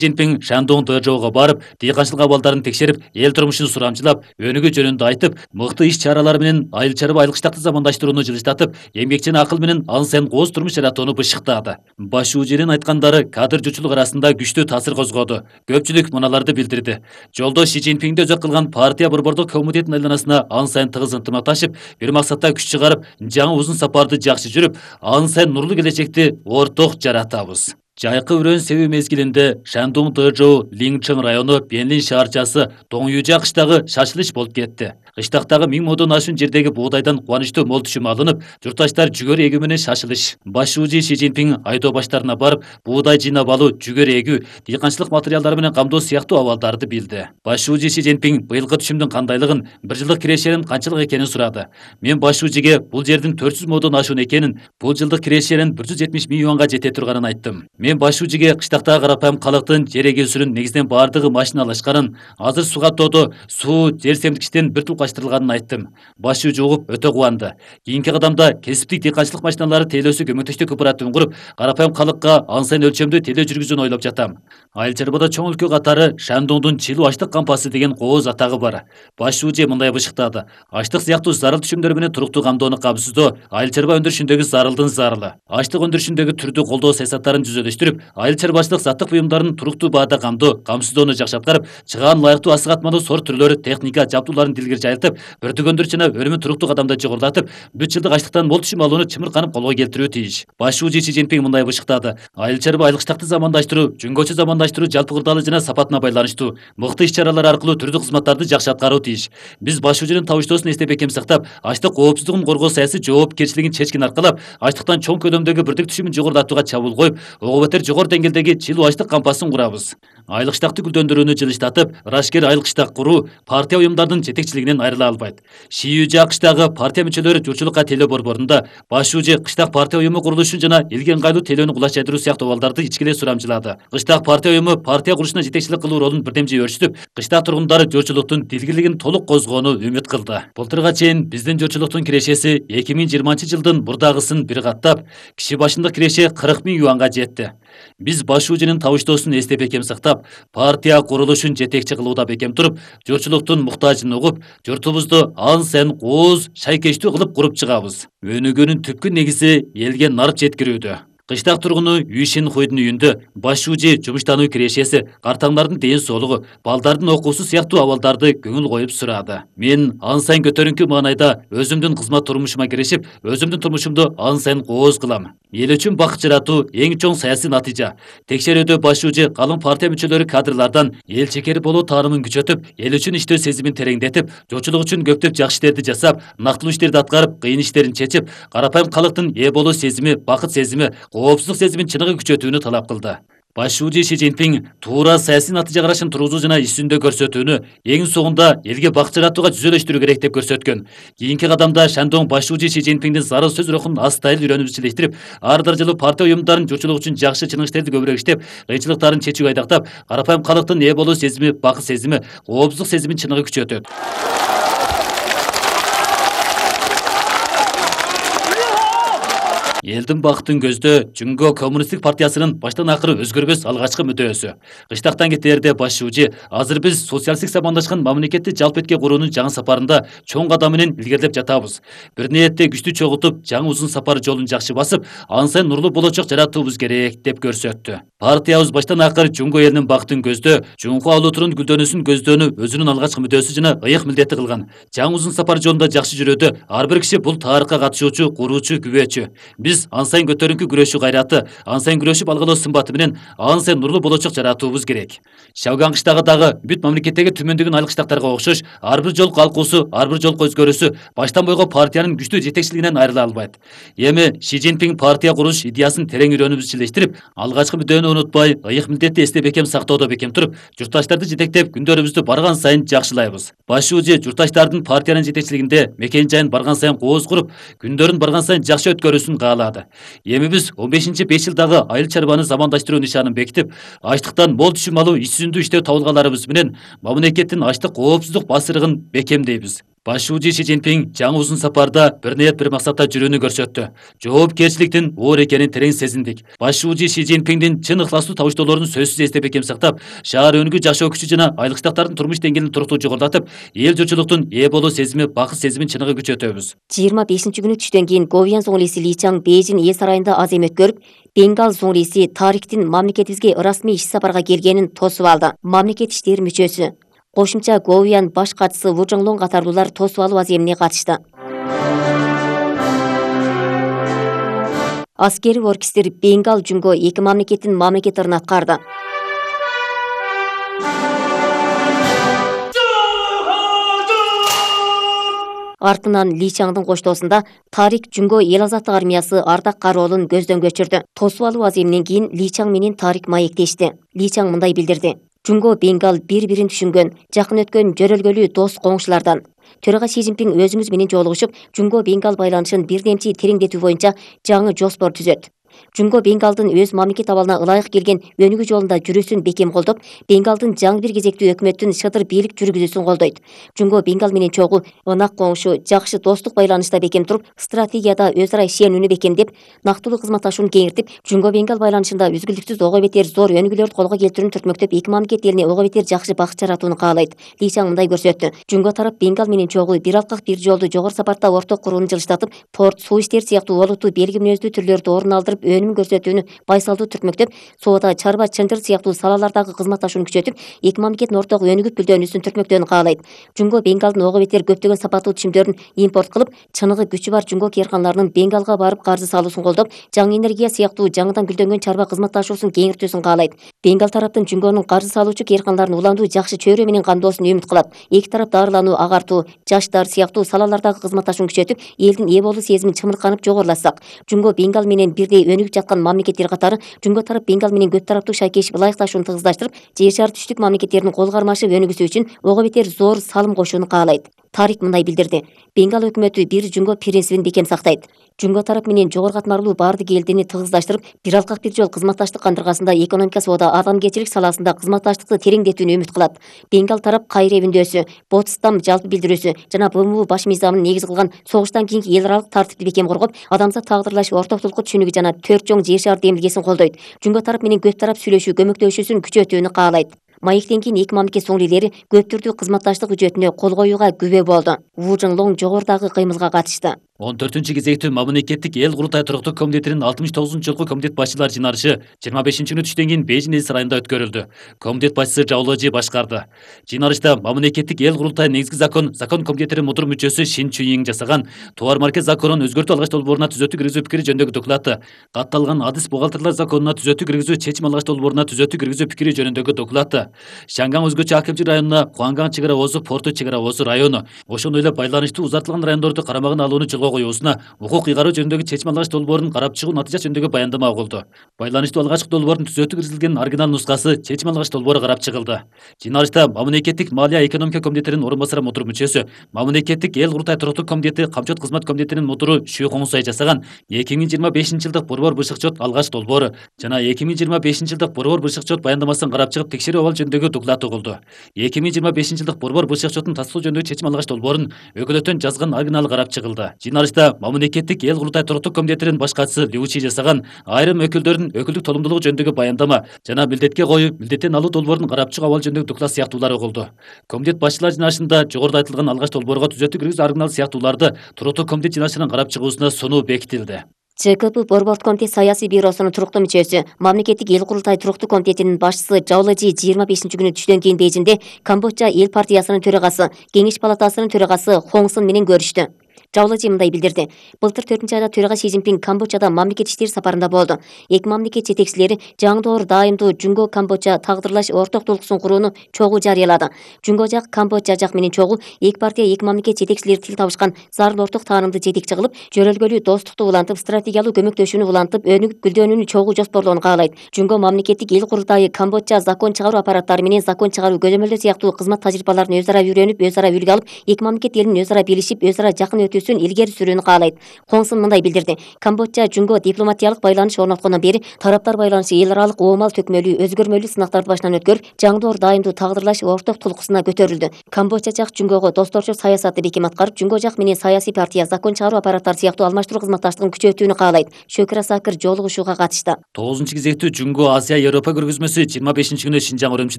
Цзиньпин Шандун ТЖОго барып, дыйканчылык абалдарын текшерип, эл турмушун сурамчылап, өнүгүү жөнүндө айтып, мыкты иш-чаралар менен айыл чарба айылкычтыкты замандаштырууну жылыштатып, эмгекчине акыл менен ан сайын кооз турмуш жаратууну бышыктады. Баш уужинин айткандары кадр журчулук арасында күчтүү таасир козгоду. Көпчүлүк мыналарды билдирди. Жолдо Си Цзиньпинди өзөк кылган партия борбордук комитеттин айланасына ан сайын тыгыз ынтымакташып, бир максатта күч чыгарып, жаңы узун сапарды жакшы жүрүп, ан сайын нурлуу келечекти орток жаратабыз. Жайкы өрөөн себүү мезгилинде Шандун ТЖО Лиңчэн району Бенлин шаарчасы Тоңюжа кыштагы шашылыш болуп кетти. Кыштактагы 1000 модон ашуун жердеги буудайдан кубанычтуу мол түшүм алынып, журтташтар жүгөр эгүү менен шашылыш. Баш уужи Си Цзиньпин айдоо баштарына барып, буудай жыйнап алуу, жүгөр эгүү, дыйканчылык материалдары менен камдоо сыяктуу абалдарды билди. Баш уужи Си Цзиньпин быйылкы түшүмдүн кандайлыгын, бир жылдык кирешенин канчалык экенин сурады. Мен баш уужиге бул жердин 400 модон ашуун экенин, бул жылдык кирешенин 170 000 юанга жете турганын айттым. Мен баш уужиге кыштактагы карапайым калктын жер эгүүсүнүн негизинен бардыгы машиналашканын, азыр суга тоодо суу, жер семдикичтен бир тулкаштырылганын айттым. Баш уужи угуп өтө кубанды. Кийинки кадамда кесиптик дыйканчылык машиналары тейлөөсү көмөктөштүү кооперативин куруп, карапайым калкка ан сайын өлчөмдүү тейлөө жүргүзүүнү ойлоп жатам. Айыл чарбада чоң өлкө катары Шандундун чилүү аштык кампасы деген кооз атагы бар. Баш уужи мындай бышыктады. Аштык сыяктуу зарыл түшүмдөр менен туруктуу камдоону камсыздоо айыл чарба өндүрүшүндөгү зарылдын зарылы. Аштык өндүрүшүндөгү түрдүү колдоо саясаттарын жүзөлдөштүрүп, айыл чарбачылык заттык буюмдарын туруктуу баада камсыздоону жакшырткарып, чыгаан ылайыктуу асык атмалуу сорт түрлөрү, техника, жабдууларын дилгер жайылтып, бөртөгөндөр жана өнүмүн туруктуу кадамда жогорулатып, 3 жылдык аштыктан мол түшүм алууну чымырканып колго келтирүү тийиш. Баш уужи Си Цзиньпин мындай бышыктады. Айыл чарба айылкычтыкты замандаштыруу, жүнгөчө замандаштыруу жалпы кырдаалы жана сапатына байланыштуу. Мыкты иш-чаралар аркылуу түрдүү кызматтарды жакшы аткаруу тийиш. Биз баш уужинин табыштоосун эстеп бекем сактап, аштык коопсуздугун коргоо саясий жоопкерчилигин чечкин аркалап, аштыктан чоң көлөмдөгү бирдик түшүмүн жогорулатууга чабуул коюп, ого бетер жогору деңгээлдеги чилүү аштык кампасын курабыз. Айылкычтыкты гүлдөндүрүүнү жылыштатып, ырашкер айылкычтак куруу партия уюмдардын жетекчилигинен айрыла албайт. Шиюжа кыштагы партия мүчөлөрү журчулукка тейлөө борборунда баш уужи кыштак партия уюму курулушун жана элге ыңгайлуу тейлөөнү кулаш жайдыруу сыяктуу абалдарды ичкиле сурамчылады. Кыштак партия уюму партия курулушуна жетекчилик кылуу ролун бирдемже өөрчүтүп, кыштак тургундары журчулуктун дилгирлигин толук козгоону үмүт кылды. Былтырга чейин биздин журчулуктун кирешеси 2020-жылдын мурдагысын бир каттап, киши башындык киреше 40 000 юанга жетти. Биз баш уужинин табыштоосун эстеп бекем сактап, партия курулушун жетекчи кылууда бекем туруп, журчулуктун муктажын угуп, журтубузду ан сайын кооз, шайкечтүү кылып куруп чыгабыз. Өнүгүүнүн түпкү негизи элге нарып жеткирүүдө. Кыштак тургуну Юшин Хуйдун үйүндө баш уужи жумуштануу кирешеси, картаңдардын ден соолугу, балдардын окуусу сыяктуу абалдарды көңүл коюп сурады. Мен ан сайын көтөрүңкү маанайда өзүмдүн кызмат турмушума киришип, өзүмдүн турмушумду ан сайын кооз кылам. Эл үчүн бакыт жаратуу эң чоң саясий натыйжа. Текшерүүдө баш уужи калың партия мүчөлөрү кадрлардан эл чекери болуу таанымын күчөтүп, эл үчүн иштөө сезимин тереңдетип, журчулук үчүн көптөп жакшы иштерди жасап, нактылуу иштерди аткарып, кыйын иштерин чечип, карапайым калктын ээ болуу сезими, бакыт сезими, коопсуздук сезимин чыныгы күчөтүүнү талап кылды. Баш уужи Си Цзиньпин туура саясий натыйжа карашын тургузуу жана иш жүзүндө көрсөтүүнү эң соңунда элге бакыт жаратууга жүзөлөштүрүү керек деп көрсөткөн. Кийинки кадамда Шандун баш уужи Си Цзиньпиндин зарыл сөз рухун астайыл үйрөнүп ичилештирип, ар даражалуу партия уюмдарын журчулук үчүн жакшы чыныгы иштерди көбүрөөк иштеп, кыйынчылыктарын чечүүгө айдактап, карапайым калктын ээ болуу сезими, бакыт сезими, коопсуздук сезимин чыныгы күчөтөт. Элдин бакытын көздөө Жүнгө коммунисттик партиясынын баштан акыры өзгөрбөс алгачкы мүдөөсү. Кыштактан кетээрде баш уужи азыр биз социалисттик замандашкан мамлекетти жалпы этке куруунун жаңы сапарында чоң кадам менен илгерилеп жатабыз. Бир ниетте күчтү чогултуп, жаңы узун сапар жолун жакшы басып, ан сайын нурлуу болочок жаратуубуз керек деп көрсөттү. Партиябыз баштан акыры Жүнгө элинин бакытын көздөө, Жүнгө алуутунун гүлдөнүүсүн көздөөнү өзүнүн алгачкы мүдөөсү жана ыйык милдети кылган. Жаңы узун сапар жолунда жакшы жүрүүдө ар бир киши бул тарыхка катышуучу, куруучу, күбөөчү. Биз ан сайын көтөрүңкү күрөшүү кайраты, ан сайын күрөшүп алгалоо сымбаты менен ан сайын нурлуу болочок жаратуубуз керек. Шавган кыштагы дагы бүт мамлекеттеги түмөндөгүн айыл кыштактарга окшош, ар бир жол калкуусу, ар бир жол өзгөрүүсү баштан бойго партиянын күчтүү жетекчилигинен айрыла албайт. Эми Си Цзиньпин партия куруш идеясын терең үйрөнүп ичилештирип, алгачкы мүдөнү унутпай, ыйык милдетти эстеп бекем сактоодо бекем туруп, журтташтарды жетектеп күндөрүбүздү барган сайын жакшылайбыз. Баш уужи журтташтардын партиянын жетекчилигинде мекен жайын барган сайын кооз куруп, күндөрүн барган сайын жакшы өткөрүүсүн каалады. Эми биз 15-5 жылдагы айыл чарбаны замандаштыруу нишанын бекитип, аштыктан мол түшүм алуу иш жүзүндө иштөө табылгаларыбыз менен мамлекеттин аштык коопсуздук басырыгын бекемдейбиз. Башчы Си Цзиньпин жаңы узун сапарда бир ниет бир максатта жүрүүнү көрсөттү. Жоопкерчиликтин оор экенин терең сезиндик. Башчы Си Цзиньпиндин чын ыхластуу табыштоолорун сөзсүз эстеп экем сактап, шаар өнүгүү жашоо күчү жана айлыктардын турмуш деңгээлин туруктуу жогорулатып, эл журтчулуктун ээ болуу сезими, бакыт сезимин чыныгы күчөтөбүз. 25-күнү түштөн кийин Говиян зуңлиси Ли Чаң Бейжин эл сарайында аз эм өткөрүп, Бенгал зуңлиси Тариктин мамлекетибизге ырасмий иш сапарга келгенин тосуп алды. Мамлекет иштери мүчөсү кошумча Говиян баш катчысы Ву Жоңлоң катарлуулар тосуп алуу аземине катышты. Аскери оркестр Бенгал Жунго эки мамлекеттин мамлекет ырын аткарды. Артынан Ли Чаңдын коштоосунда Тарик Жунго эл азаттык армиясы ардак кароолун көздөн көчүрдү. Тосуп алуу аземинен кийин Ли Чаң менен Тарик маектешти. Ли Чаң мындай билдирди: Жунго Бенгал бири-бирин түшүнгөн, жакын өткөн жөрөлгөлүү дос коңшулардан. Төрага Си Цзиньпин өзүңүз менен жолугушуп, Жунго Бенгал байланышын бирдемчи тереңдетүү боюнча жаңы жоспор түзөт. Жунго Бенгалдын өз мамлекет абалына ылайык келген өнүгүү жолунда жүрүүсүн бекем колдоп, Бенгалдын жаңы бир кезектүү өкмөттүн шыдыр бийлик жүргүзүүсүн колдойт. Жунго Бенгал менен чогуу ынак коңшу, жакшы достук байланышта бекем туруп, стратегияда өз ара ишенүүнү бекемдеп, нактылуу кызматташууну кеңиртип, Жунго Бенгал байланышында үзгүлтүксүз ого бетер зор өнүгүүлөрдү колго келтирүүнү түртмөктөп, эки мамлекет элине ого бетер жакшы бакыт жаратууну каалайт. Ли Чаң мындай көрсөттү: Жунго тарап Бенгал менен чогуу бир алкак бир жолду жогору сапарда орток курууну жылыштатып, порт, суу иштери сыяктуу олуттуу белги мүнөздүү түрлөрдү орун алдырып, өнүм көрсөтүүнү байсалдуу түртмөктөп, соода, чарба, чынжыр сыяктуу салалардагы кызматташууну күчөтүп, эки мамлекеттин орток өнүгүп гүлдөнүүсүн түртмөктөөнү каалайт. Жунго Бенгалдын ого бетер көптөгөн сапаттуу чимдөрүн импорт кылып, чыныгы күчү бар Жунго кээрканаларынын Бенгалга барып каржы салуусун колдоп, жаңы энергия сыяктуу жаңыдан гүлдөнгөн чарба кызматташуусун кеңиртүүсүн каалайт. Бенгал тараптын Жунгонун каржы салуучу кээрканаларын уландуу, жакшы чөйрө менен камдоосун үмүт кылат. Эки тарап дарылануу, агартуу, жаштар сыяктуу салалардагы кызматташууну күчөтүп, элдин ээ болуу сезимин чымырканып жогорулатсак, Жунго Бенгал менен бирдей өнүгүп жаткан мамлекеттер катары Жунго тарап Бенгал менен көп тараптуу шайкешип ылайыкташууну тыгыздаштырып, жер шары түштүк мамлекеттеринин кол кармашып өнүгүүсү үчүн ого бетер зор салым кошууну каалайт. Тарик мындай билдирди: Бенгал өкмөтү бир Жунго принцибин бекем сактайт. Жунго тарап менен жогору катмарлуу баардык элдини тыгыздаштырып, бир алкак бир жол кызматташтык кандыргасында экономика, соода, адамгерчилик саласында кызматташтыкты тереңдетүүнү үмүт кылат. Бенгал тарап Кайре бүндөсү, Потсдам жалпы билдирүүсү жана БМУ баш мыйзамын негиз кылган согуштан кийинки эл аралык тартипти бекем коргоп, адамзат тагдырлаш ортоктулукку түшүнүгү жана төрт чоң жер шары демилгесин колдойт. Жунго тарап менен көп тарап сүйлөшүү, көмөктөшүүсүн күчөтүүнү каалайт. Маектен кийин эки мамлекет соңлилери көп түрдүү кызматташтык үчөтүнө кол коюуга күбө болду. Ву Жоңлоң жогорудагы кыймылга катышты. 14-кезектүү мамлекеттик эл курултай туруктуу комитетинин 69-жылкы комитет башчылар жыйналышы 25-күнү түштөн кийин Бейжин эл сарайында өткөрүлдү. Комитет башчысы Жаоложи башкарды. Жыйналышта мамлекеттик эл курултай негизги закон комитетинин мудур мүчөсү Шин Чуйин жасаган товар марка законун өзгөртүү алгач долбооруна түзөтүү киргизүү пикири жөнүндөгү доклады, катталган адис бухгалтерлер законуна түзөтүү киргизүү чечим алгач долбооруна түзөтүү киргизүү пикири жөнүндөгү доклады, Шанган өзгөчө акимчилик районуна Хуанган чек ара озу порту чек ара озу району, ошондой эле байланыштуу узартылган райондорду карамагына алууну жолго коюусуна укук ыйгаруу жөнүндөгү чечим алгач долбоорун карап чыгуу натыйжа жөнүндөгү баяндама угулду. Байланыштуу алгачкы долбоордун түзөтүү киргизилген оригинал нускасы чечим алгач долбоору карап чыгылды. Жыйналышта мамлекеттик малия экономика комитетинин орун басары мудур мүчөсү, мамлекеттик эл курултай туруктуу комитети камчот кызмат комитетинин мудуру Шү Хоңсай жасаган 2025-жылдык борбор бышык-чот алгач долбоору жана 2025-жылдык борбор бышык-чот баяндамасын карап чыгып текшерүү абал жөнүндөгү доклад угулду. 2025-жылдык борбор бышык-чотун тастыктоо жөнүндөгү чечим алгач долбоорун өкүлөттөн жазган оригиналы карап чыгылды. Жыйналышта мамлекеттик эл курултай туруктуу комитетинин баш катчысы Лю Чи жасаган айрым өкүлдөрдүн өкүлдүк толумдуулугу жөнүндөгү баяндама жана милдетке коюу, милдеттен алуу долбоорун карап чыгуу абал жөнүндөгү доклад сыяктуулар угулду. Комитет башчылар жыйналышында жогоруда айтылган алгач долбоорго түзөтүү киргизүү оригинал сыяктууларды туруктуу комитет жыйналышынын карап чыгуусуна сонуу бекитилди. ЧКП Борбордук комитет саясий бюросунун туруктуу мүчөсү, мамлекеттик эл курултай туруктуу комитетинин башчысы Жаоложи 25-күнү түштөн кийин Бейжинде Камбоджа эл партиясынын төрагасы, Кеңеш палатасынын төрагасы Хоң Сын менен көрүштү. Жаоложи мындай билдирди: Былтыр 4-айда төрага Си Цзиньпин Камбоджада мамлекет иштери сапарында болду. Эки мамлекет жетекчилери жаңдоор дайымдуу Жунго Камбоджа тагдырлаш ортоктулуксун курууну чогуу жарыялады. Жунго жак Камбоджа жак менен чогуу эки партия, эки мамлекет жетекчилери тил табышкан зарыл орток таанымды жетекчи кылып, жөрөлгөлүү достукту улантып, стратегиялуу көмөктөшүүнү улантып, өнүгүп гүлдөнүүнү чогуу жоспорлоону каалайт. Жунго мамлекеттик эл курултайы Камбоджа закон чыгаруу аппараттары менен закон чыгаруу көзөмөлдөр сыяктуу кызмат тажрыйбаларын өз ара үйрөнүп, өз ара үлгү алып, эки мамлекет элинин өз ара билишип, өз ара жакын өтүү мүддөсүн илгери сүрүүнү каалайт. Хong Sun мындай билдирди: Камбоджа Жунго дипломатиялык байланыш орноткондон бери тараптар байланышы эл аралык оомал төкмөлүү, өзгөрмөлүү сынактарды башынан өткөрүп, жаңдоор дайымдуу тагдырлаш орток тулкусуна көтөрүлдү. Камбоджа жак Жунгого досторчу саясатты бекем аткарып, Жунго жак менен саясий партия, закон чыгаруу аппараттары сыяктуу алмаштыруу кызматташтыгын күчөтүүнү каалайт. Шөкүрө Сакыр жолугушууга катышты. 9 кезектүү Жунго Азия Европа көргөзмөсү 25-күнү Шинжаң Өрөмчүдө